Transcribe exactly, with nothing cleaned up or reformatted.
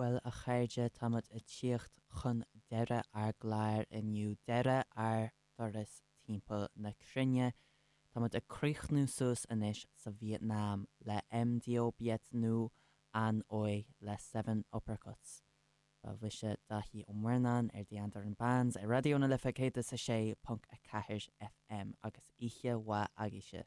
Bhuel a chairde táimid ag tíocht chun deireadh ár gcláir inniu deireadh ár dturas timpeall na cruinne. Táimid ag críochnú suas anois sa Vietnam le MDO Biet nó an Oi le Seven Uppercuts. Ba mise Daithí Ó Murnáin ar The Andaran Bands ar Raidió na Life céad is a sé ponc a ceathair FM agus oíche mhaith agaibhse.